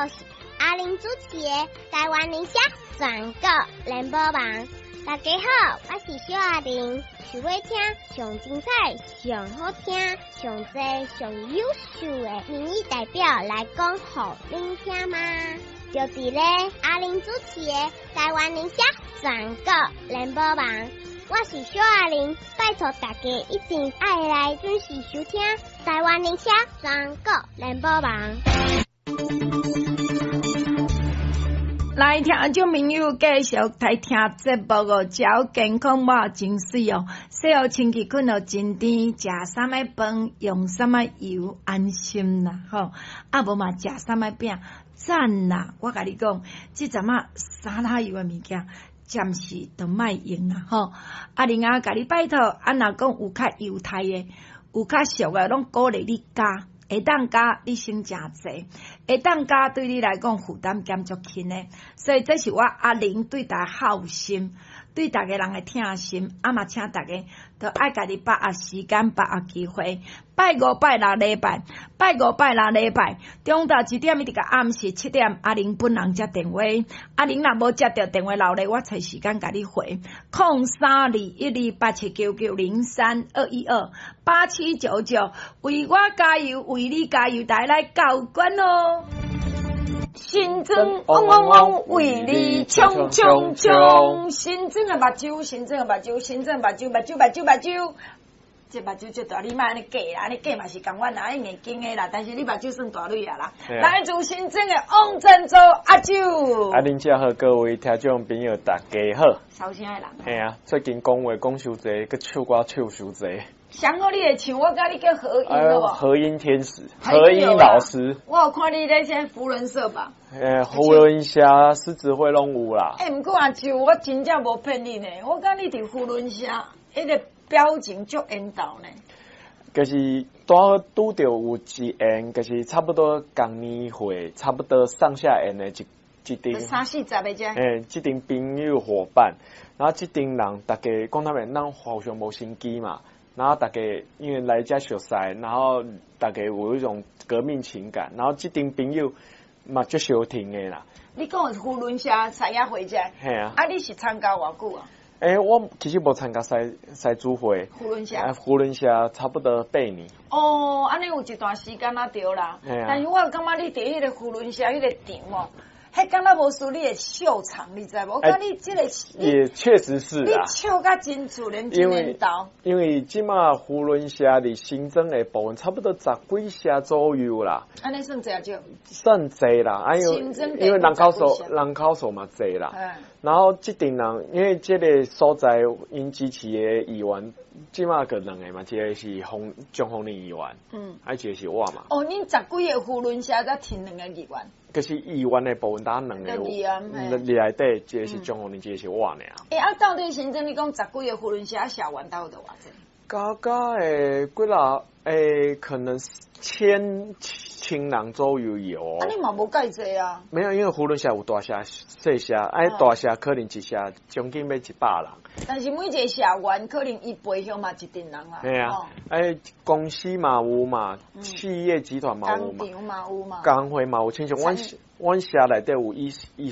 就是阿玲主持的台灣鈴聲全國聯播網。大家好，我是小阿玲，想欲聽上精彩、上好聽、上濟、上優秀的民意代表來講予恁聽嗎？就佇咧阿玲主持的台灣鈴聲全國聯播網。我是小阿玲，拜託大家一定愛來準時收聽台灣鈴聲全國聯播網。來聽眾朋友繼續來聽節目哦，食好健康嘛真媠哦，洗予清氣睏予真甜，食啥物飯用啥物油安心啦吼，啊無嘛食啥物餅讚啦！我共你講，這陣仔沙拉油的物件，暫時都莫用啦吼。啊，另外共你拜託，啊若講有較猶太的，有較俗的，攏鼓勵你加。會當加，你省誠濟；會當加，對你來講負擔減足輕的。所以這是我阿玲對大家孝心，對逐家人的疼心。啊嘛，請大家都愛家己把握時間，把握機會。拜五、拜六禮拜，拜五、拜六禮拜，中晝1點一直到暗時7點，阿玲本人接電話。阿玲若無接著電話留咧，我揣時間共你回。032128799032128799，為我加油，為你加油，大家來交關哦！新莊嗡嗡嗡，為你衝衝衝！新莊的目睭，新莊的目睭，新莊目睭，目睭目睭目睭。這目睭足大，你莫按呢假啦，按呢假嘛是仝款啦，硬經的啦，但是你目睭算大蕊啊啦。來自新莊的王振洲阿舅。阿玲姐好，各位聽眾朋友大家好。收聲的人。嘿啊，最近講話講傷濟，閣唱歌唱傷濟。上好你會唱，我佮你叫和音好無？和音天使，和音老師。我有看你咧這扶輪社吧？欸，扶輪社、獅子會攏有啦。欸，毋過阿舅，我真正無騙你呢，我感覺你佇扶輪社，彼個表情足緣投呢。就是拄好拄著有一緣，就是差不多仝年歲，差不多上下緣的一陣三四十个遮。欸，這陣朋友夥伴，然後這陣人，大家講坦白，咱互相無心機嘛。然後大家因為來遮熟似，然後大家有一種革命情感，然後這陣朋友嘛足相挺的啦。你講的扶輪社獅仔會遮？嘿啊。啊，你是參加偌久啊？欸，我其實無參加獅獅子會。扶輪社。啊，扶輪社差不多8年。哦，按呢有一段時間啊，對啦。嘿啊。但是我感覺你佇彼个扶輪社彼个場哦，彼敢若無輸你的秀場，你知無？我感覺你這個也確實是啊。你笑甲真自然，真緣投。因為這馬扶輪社佇新莊的部分，差不多十幾社左右啦。按呢算濟抑少？算濟啦，哎呦，因為人口數嘛濟啦。然後這陣人，因為這個所在𪜶支持的議員，這馬閣兩個嘛，一個是洪張宏林議員，啊一個是我嘛。哦，恁十幾個扶輪社才提兩個議員。就是議員的部分，單兩個，內底一個是張宏林，一個是我爾。欸，啊，到底新莊你講十幾個扶輪社社員兜有偌濟？加加的幾若，欸，可能千人左右有。啊，你嘛無蓋濟啊？沒有，因為扶輪社有大社、細社，哎，大社可能一社將近欲100人。但是每一個社員可能伊背後嘛一陣人啊。嘿啊，哎，公司嘛有嘛，企業集團嘛有嘛，工廠嘛有嘛，工會嘛有，親像阮阮社內底有藝藝